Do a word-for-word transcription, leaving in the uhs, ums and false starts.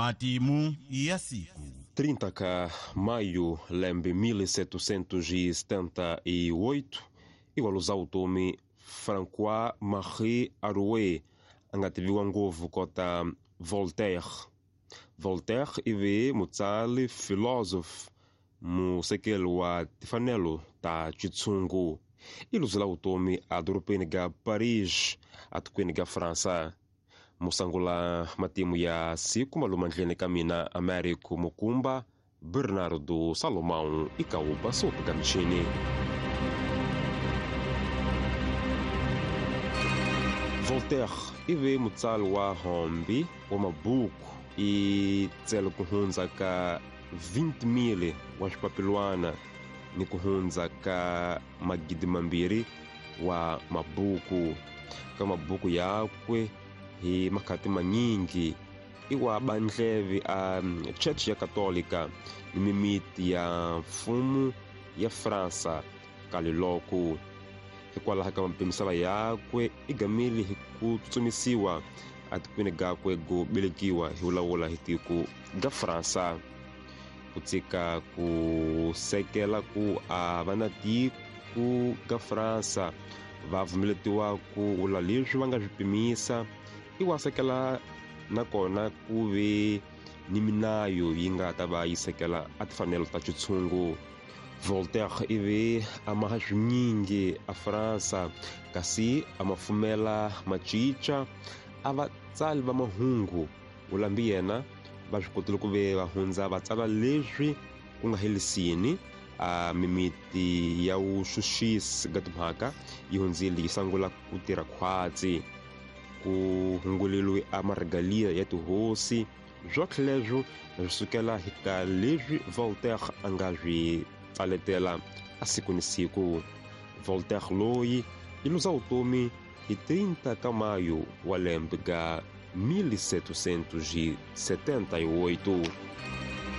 Matimu ya siku trinta ka maio lembe mil setecentos e setenta e oito igualuza utomi François Marie Arouet a nga tiviwa ngopfu kota Voltaire. Voltaire ive mutsali philosophe musekeli wa timfanelo ta xitshungu. I luzela vutomi edorobeni ga Paris atikweni ga Fransa. Musangula matimu ya siku malumandleni ka mina Américo Mukumba Bernardo Salomão ikauba sopa ga michini. Voltaire ive mutsali wa hombi wa mabuku i tsele ku hundza ka vinte mil wa swipapilwana ni ku hundza ka magidi mambirhi wa mabuku. Ka mabuku yakwe hi makhati manyingi i wa bandleve a Church ya Katolika ni mimiti ya mfumo ya Fransa kaliloko. Hikwalaho ka mapimisala yakwe i gamile hi ku tsutsumisiwa atikweni gakwe go velekiwa hi vulavula hi tiko ga Fransa. Ku tshika ku sekela ku a va na tiko ga Fransa va pfumeletiwa ku vula leswi va nga swi pimisa i wa sekela nakona ku ve ni minayo yi nga ta va yi sekela a timfanelo ta xitshungu. Voltaire ive a maha swinyingi a Fransa kasi a ma pfumela macica a vatsali va mahungu vulambi yena va swi kotile ku ve va hundza va tsala leswi ku nga helisini a mimiti ya vuxuxisi ga timhaka yi hundzile yi sungula ku tirha khwatsi ku hunguleliwe a marigalia ya tihosi. Swotlhe leswo swi sukela hi ka leswi Voltaire a nga swi tsaletela a siku ni siku. Voltaire loyi i luza vutomi hi trinta ka maio wa lembe ga mil setecentos e setenta e oito.